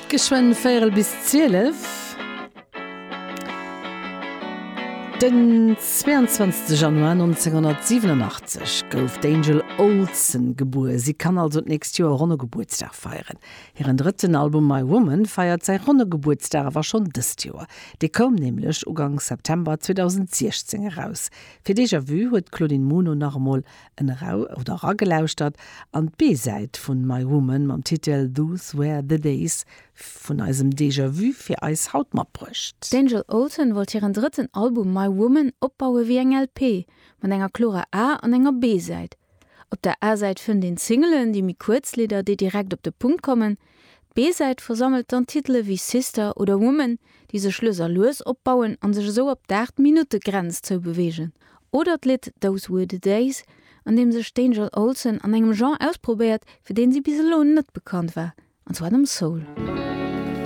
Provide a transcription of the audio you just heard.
Geschwënn véierel bis 12. Den 22 Januar 1987 gouf d'Angel Olsen gebuer. Si kann also d'nächst Joer ronne Gebuertsdag feieren. Hiren drëtten Album My Woman feiert säi ronne Gebuertsdag awer schonn dëst Joer. Dee koum nämlech Uganks September 2016 eraus. Fir Déjà Vu huet d'Claudine Muno nach emol en erau oder eragelauschtert an d'B-Säit vun My Woman mam Titel Those Were The Days vun eisem Déjà Vu fir eis haut matbruecht. D'Angel Olsen wollt hiren drëtten Album My Woman opbaue wéi eng LP, mat enger klorer A an enger B-Säit. Op der A-Säit fënnt een d'Singelen, déi méi kuerz Lidder, déi direkt op de Punkt kommen. D'B-Säit versammelt dann Titele wéi Sister oder Woman, déi sech lues a lues opbauen an sech esou op d'Aacht Minutte Grenz zoubeweegen. Oder d'Lidd Those Were The Days, an deem sech d'Angel Olsen an engem Genre ausprobéiert, fir deen si bis elo net bekannt war, an zwar dem Soul.